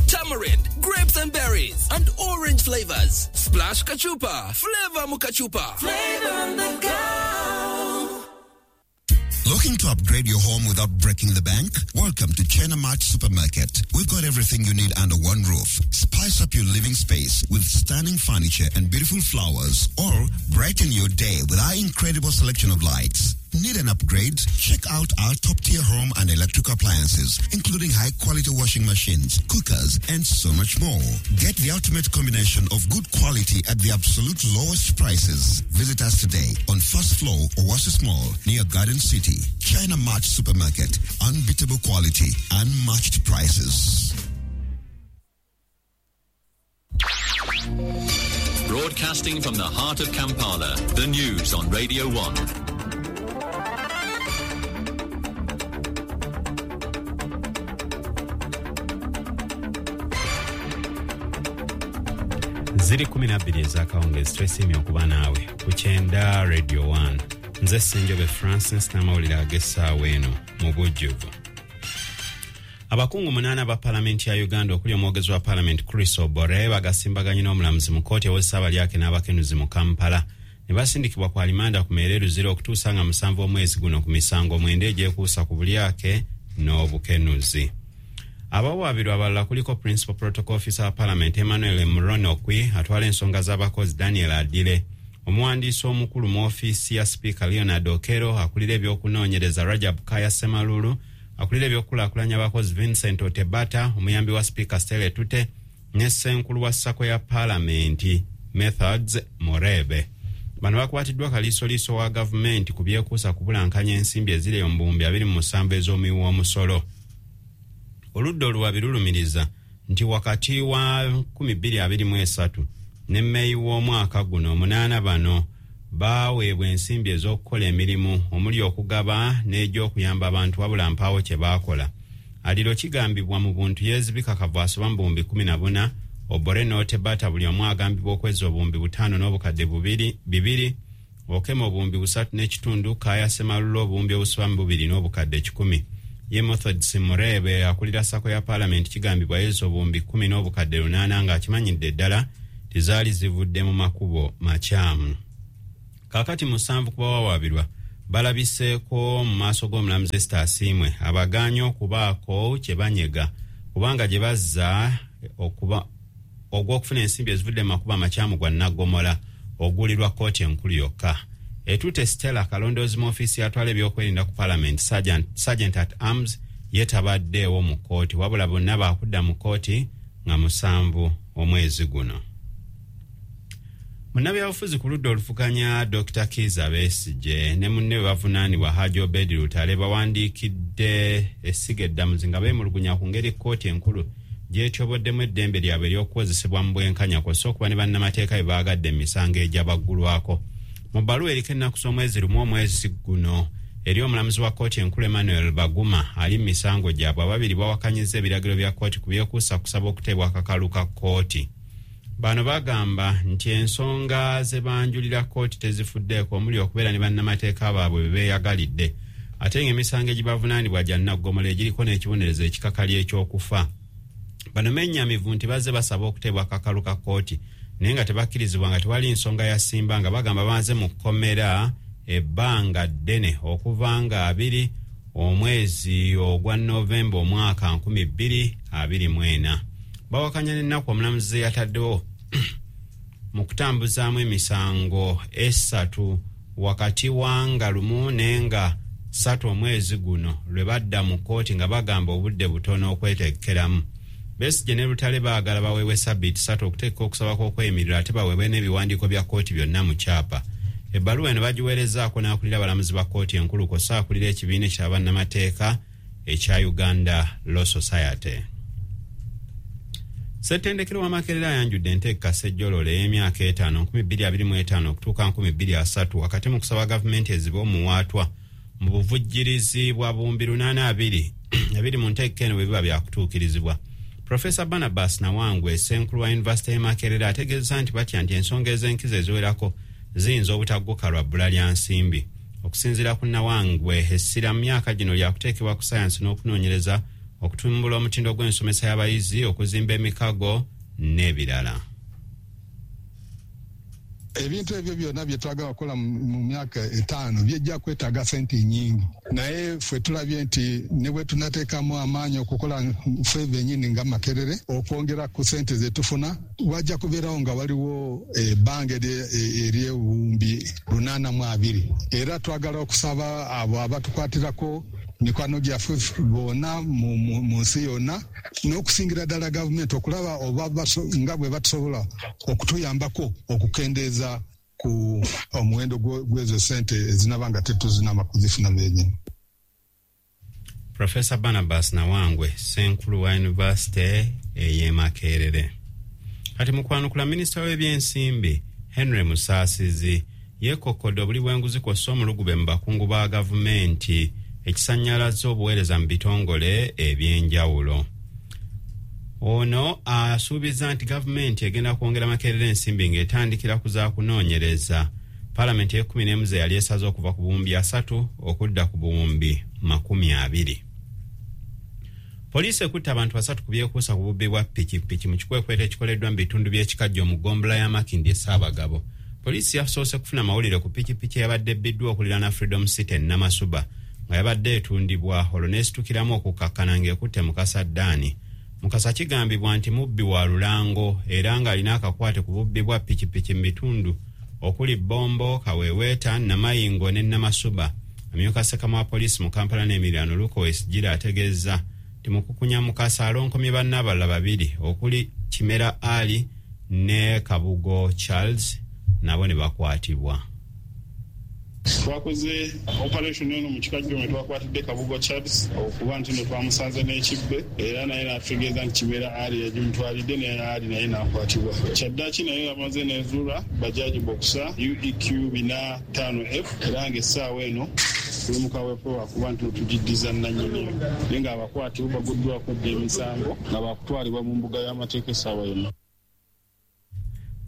Tamarind, grapes and berries, and orange flavors. Splash Kachupa. Flavor Mukachupa. Flavor on the go. Looking to upgrade your home without breaking the bank? Welcome to China Mart Supermarket. We've got everything you need under one roof. Spice up your living space with stunning furniture and beautiful flowers, or brighten your day with our incredible selection of lights. Need an upgrade? Check out our top-tier home and electric appliances, including high-quality washing machines, cookers, and so much more. Get the ultimate combination of good quality at the absolute lowest prices. Visit us today on first floor, Oasis Mall, near Garden City. China Mart Supermarket. Unbeatable quality, unmatched prices. Broadcasting from the heart of Kampala, the news on Radio 1. Ziri 12 ez'akawungeezi. Twesiimye okuba naawe ku 90 Radio 1. Nze Ssenjobe Francis n'amawulire ag'essaawa eno mu bujjuvu. Abakungu 8 aba Palamenti ya Uganda, okuli omwogezi wa Palamenti Chris Obore, bagasimbaganye n'omulamuzi mu kkooti ewozesa abalyake n'abakenuzi mu Kampala ne basindikibwa ku alimanda ku meere Luzira okutuusa nga 7 omwezi guno ku misango 9 egyekuusa ku bulyake n'obukenuzi. Abawaabirwa abalala kuliko Principal Protocol Officer wa Parliament Emmanuel Muronokwi, atwala ensonga z'abakozi Daniel Adile, omuwandiisi omukulu mu ofiisi ya Sipiika Leonard Okero, akulira ebyokunoonyereza Rajab Kaya Semalulu, akulira ebyokukulaakulanya abakozi Vincent Otebata, omuyambi wa Sipiika Stella Tute ne ssenkulu wa SACCO ya Paalamenti Methods Morebe. Bano bakwatiddwa kaliisoliiso wa gavumenti ku byekuusa kubulankanya ensimbi eziri mu 2027 ez'omuwi w'omusolo. Oludda oluwabi lulumiriza nti wakati wa 2023 ne Meeyi w'omwaka guno, 8 bano baaweebwa ensimbi ez'okukola emirimu omuli okugaba n'egy'okuyamba abantu, wabula mpaawo kye baakola. Aliro kigambibwa mu buntu yeezibika kavu asoba mu 14,000. Obore n'Otebata buli omu agambibwa okweza 5,000 n'obukadde 2, Okema 3.5, Kaya Semalula 2 n'obukadde 100. Ye Methods Murebe akulira SACCO ya Paalamenti kigambibwa yeeza 10 n'obukadde 8 ng'akimanyidde ddala tizaali zivudde mu makubo makyamu. Kaakati 7 ku bawawaabirwa balabiseeko mu maaso g'omulamuzi Esther Asiimwe abagaanye okubaako kye banyega kubanga gye bazza ogw'okufuna ensimbi ezivudde mu makubo amakyamu gwa Naggomola ogulirwa kkooti enkulu yokka. Etute Stella kalondoozi mu ofiisi yatwala ebyokwerinda ku Parliament, Sergeant at Arms, ye tabaddeewo mu kkooti, wabula bonna baakudda mu kkooti nga 7 omwezi guno. Munnabyabufuzi ku ludda oluvuganya Dr. Kizza Besigye ne munne bavunaanibwa Haji Obedi Lutale bawandiikidde essiga eddamuzi nga beemulugunya ku ngeri kkooti enkulu gy'etyoboddemu eddembe lyabwe ery'okukozesebwa mu bwenkanya kw'ossa okuba ne bannamateeka bye baagadde mu misango egyabaggulwako. Mu bbaluwa eriko ennaku z'omwezi 1 omwezi guno eri omulamuzi wa kkooti enkulu Emmanuel Baguma ali mu misango gyabwe, ababiri bawakanyizza ebiragiro bya kkooti ku byekuusa kusaba okuteebwa akakalu ka kkooti. Bano bagamba nti ensonga ze banjulira kkooti tezifuddeeko omuli okubeera ne bannamateeka baabwe be beeyagalidde, ate ng'emisango egibavunaanibwa gya naggomola egiriko n'ekibonerezo ekikakali eky'okufa. Bano mennyamivu nti bazze basaba okuteebwa akakalu ka kkooti naye nga tebakkirizibwa nga tewali nsonga ya ssimba, nga bagamba banze mu kkomera ebbanga ddene okuva nga 2 omwezi ogwa Novemba omwaka 2024. Bawakanya n'ennaku omulamuzi yataddewo mu kutambuzaamu emisango 3 wakati wa nga 1 nenga 3 omwezi guno lwe badda mu kkooti nga bagamba obudde butono okwetegekeramu. Besigye ne Lutale baagala baweebwe sabbiiti 3 okuteeka okusaba kw'okweyimirira ate baweebwe n'ebiwandiiko bya kkooti byonna mu kyapa. Ebbaluwa eno bagiweerezaako n'akulira abalamuzi ba kkooti enkulu kw'ossa akulira ekibiina ekya bannamateeka ekya Uganda Law Society. Ssettendekero wa Makerere ayanjudde enteeka Ssejjololo ey'emyaka 5 2025 okutuuka 2030 wakati mu kusaba gavumenti ezibe omuwaatwa mu buvujjirizi bwa 802 ebiri mu nteeka eno bwe biba byakutuukirizibwa. Profesa Barnabas Nawangwe, ssenkulu wa yunivasite y'e Makerere, ategeeza nti batya nti ensonga ez'enkizo eziwerako ziyinza obutagguka lwa bbula lya nsimbi. Okusinziira ku Nawangwe, essira mu myaka gino lyakuteekebwa ku sayansi n'okunoonyereza Okutumbula omutindo gw'ensomesa y'abayizi, okuzimba emikago n'ebirala. Ebintu ebyo byonna bye twagala okukola mu myaka 5 byejja kwetaaga sente nnyingi, naye ffe tulabye nti ne bwe tunateekamu amaanyi okukola ffe bennyini nga Makerere okwongera ku sente ze tufuna, wajja kubeerawo nga waliwo ebbanga ery'obuwumbi 820. Era twagala okusaba abo abatukwatirako, mikwano gyaffe bonna mu nsi yonna, n'okusingira ddala gavumenti, okulaba oba nga bwe batusobola okutuyambako okukendeeza ku omuwendo gw'ezo sente ezinaba nga tetuzinaba kuzifuna benyini. Profesa Barnabas Nawangwe, ssenkulu wa yunivasite ey'e Makerere. Kati mu kwanukula, minisita w'ebyensimbi Henry Musaasizi yeekokkodde obuli bw'enguzi kw'ossa omulugube mu bakungu ba gavumenti, ekisannyalaza obuweereza mu bitongole ebyenjawulo. Ono asuubiza nti gavumenti egenda kwongera Makerere ensimbi ng'etandikira ku za kunoonyereza Paalamenti ey'e-11 ze yali esaze okuva ku buwumbi 30 okudda ku buwumbi 20. Poliisi ekutte abantu 3 ku byekuusa ku bubbi bwa pikipiki mu kikwekweto ekikoleddwa mu bitundu by'Ekikajjo mu ggombolola ya Makindye Ssaabagabo. Poliisi yasoose kufuna mawulire ku pikipiki eyabadde ebbiddwa okuliraana Freedom City e Namasuba nga yabadde etundibwa, olwo n'esitukiramu okukakkana ng'ekutte Mukasa Ddaani. Mukasa kigambibwa nti mubbi wa lulango era ng'alina akakwate ku bubbi bwa pikipiki mu bitundu okuli Bombo, Kaweweeta, Namayingo ne Namasuba. Amyuka ssekama wa poliisi mu Kampala n'emiriraano Luke Owoyesigyire ategeezza nti mukukunya Mukasa alonkomye banne abalala babiri okuli Kimera Ali ne Kabugo Charles, nabo ne bakwatibwa. Twakoze operation eno mu Kikajjo mwe twakwatidde Kabugo Charles okuba nti no twamusanze n'ekibbe, era naye n'atutegeeza nti Kimera Ali yagimutwalidde, naye Ali naye n'akwatibwa. Kyaddaaki naye yamaze n'ezuula Bajaji Boxer UEQ 45F, era ng'essaawa eno tuli mu kaweefube wakuba nti tugiddiza nnannyiniyo, naye ng'abakwatibwa baguddwako dda emisango nga baakutwalibwa mu mbuga y'amateeka essaawa yonna.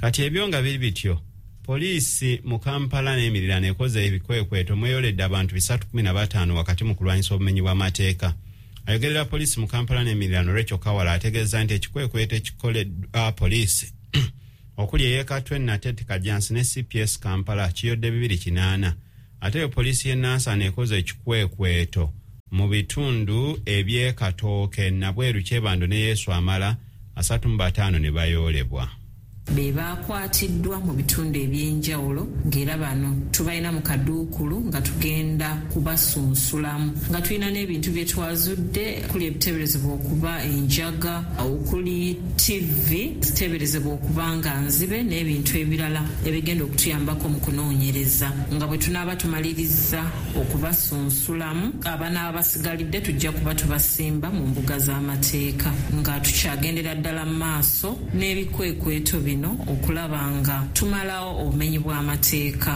Kati ebyo nga biri bityo, poliisi mu Kampala n'emiriraano ekoze ebikwekweto mweyoledde abantu 315 wakati mu kulwanyisa obumenyi bw'amateeka. Ayogerera poliisi mu Kampala n'emiriraano Rachel Kawala ategeeza nti ekikwekweto ekikoleddwa poliisi okuli ey'e Katwe, Nateete, Kajjansi ne CPS Kampala kiyodde 280. Ate yo poliisi y'e Nansana ekoze ekikwekweto mu bitundu eby'e Katooke, Nabweru, Kyebando ne Yesu Amala, 35 ne bayoolebwa. Be bakwatiddwa mu bitundu ebyenjawulo, ng'era bano tubalina mu kaduukulu nga tugenda kubasunsulamu, nga tulina n'ebintu bye twazudde okuli ebiteeberezebwa okuba enjaga, okuli TV ziteeberezebwa okuba nga nzibe, n'ebintu ebirala ebigenda okutuyambako mu kunoonyereza. Nga bwe tunaaba tumaliriza okubasunsulamu, abanaaba basigalidde tujja kuba tubasimba mu mbuga z'amateeka, nga tukyagendera ddala mu maaso n'ebikwekweto bino okulaba nga tumalawo obumenyi bw'amateeka.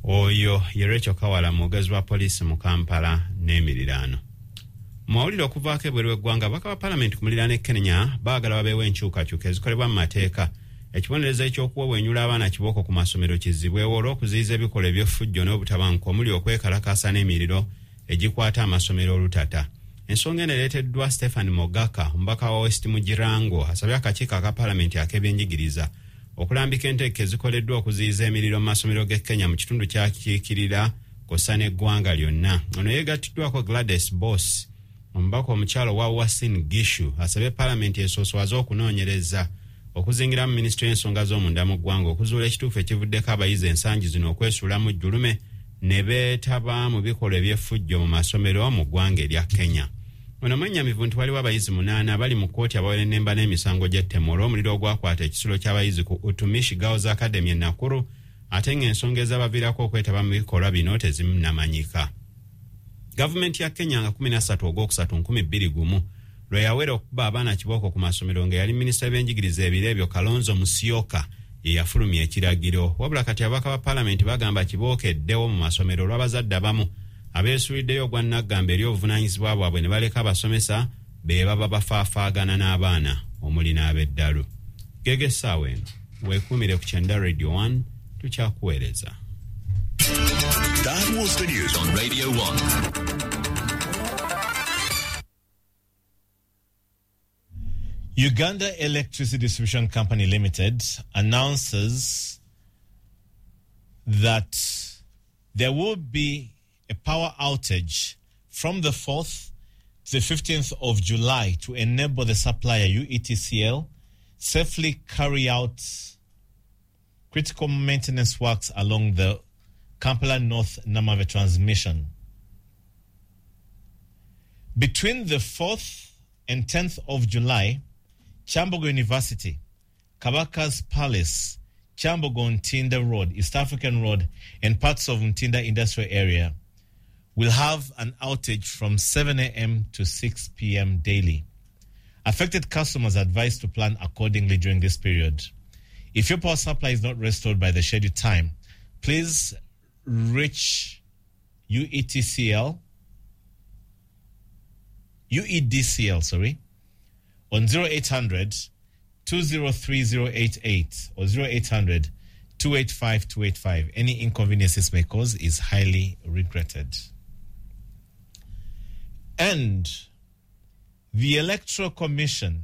Oyo ye Rachel Kawala, mwogezi wa poliisi mu Kampala n'emiriraano. Mawulire okuvaako ebweru w'eggwanga, ababaka ba paalamenti ku muliraano e Kenya baagala babeewo enkyukakyuka ezikolebwa mu mateeka, ekibonerezo ekyokuwewenyula abaana kibooko ku masomero kizibwewo olw'okuziyiza ebikolwa eby'effujjo n'obutabanguko omuli okwekalakaasa n'emiriro egikwata amasomero olutata. Ensonga eno ereeteddwa Stephen Mogaka, omubaka wa West Mugirango, asabye akakiiko aka paalamenti ak'ebyenjigiriza okulambika enteeka ezikoleddwa okuziyiza emiriro mu masomero g'e Kenya mu kitundu kyakiikirira kw'ossa n'eggwanga lyonna. Ono yeegattiddwako Gladys Boss, omubaka omukyalo wa Uasin Gishu, asabye paalamenti esooswaze okunoonyereza okuzingiramu minisitule y'ensonga z'omunda mu ggwanga okuzuula ekituufu ekivuddeko abayizi ensangi zino okwesuulamu jjulume ne beetaba mu bikolwa eby'effujjo mu masomero mu ggwanga erya Kenya. Ono mwennyamivu nti waliwo abayizi 8 abali mu kkooti abawerennemba n'emisango gy'ettemu olw'omuliro ogwakwata ekisulo ky'abayizi ku Utumishi Girls Academy e Nakuru, ate ng'ensonga ezabaviirako okwetaba mu bikolwa bino tezinnamanyika. Gavumenti ya Kenya nga 13 Ogwokusatu 2001 lwe yawera okukuba abaana kibooko ku masomero, nga yali minisita w'ebyenjigiriza ebiro ebyo Kalonzo Musyoka ye yafulumya ekiragiro. Wabula kati ababaka ba paalamenti bagamba kibooko eddewo mu masomero olw'abazadde abamu abeesuuliddeyo ogwa naggamba eri obuvunaanyizibwa bwabwe ne baleka abasomesa be baba bafaafaagana n'abaana omuli n'ab'eddalu. Gege essaawa eno weekuumire ku Kyenda Radio 1, tukyakuweereza. That was the news on Radio 1. Uganda Electricity Distribution Company Limited announces that there will be a power outage from the 4th to the 15th of July to enable the supplier UETCL safely carry out critical maintenance works along the Kampala North Namave transmission. Between the 4th and 10th of July, Kyambogo University, Kabaka's Palace, Kyambogo Ntinda Road, East African Road, and parts of Ntinda Industrial Area will have an outage from 7 a.m. to 6 p.m. daily. Affected customers are advised to plan accordingly during this period. If your power supply is not restored by the scheduled time, please reach UEDCL, on 0800 203088 or 0800 285 285. Any inconvenience this may cause is highly regretted. And the Electoral Commission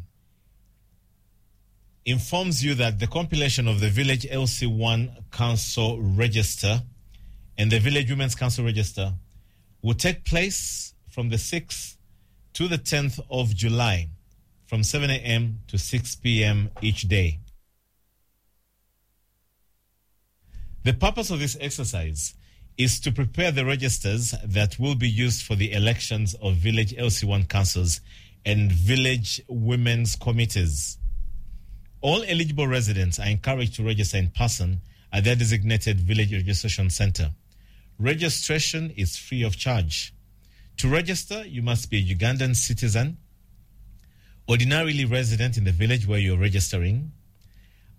informs you that the compilation of the Village LC1 Council Register and the Village Women's Council Register will take place from the 6th to the 10th of July from 7 a.m. to 6 p.m. each day. The purpose of this exercise is to prepare the registers that will be used for the elections of village LC1 councils and village women's committees. All eligible residents are encouraged to register in person at their designated village registration center. Registration is free of charge. To register, you must be a Ugandan citizen, ordinarily resident in the village where you're registering,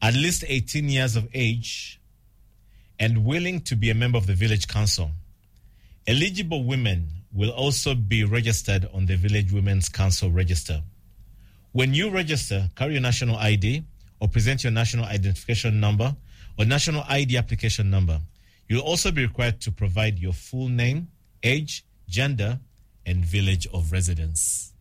at least 18 years of age, and willing to be a member of the village council. Eligible women will also be registered on the Village Women's Council register. When you register, carry your national ID or present your national identification number or national ID application number. You'll also be required to provide your full name, age, gender, and village of residence.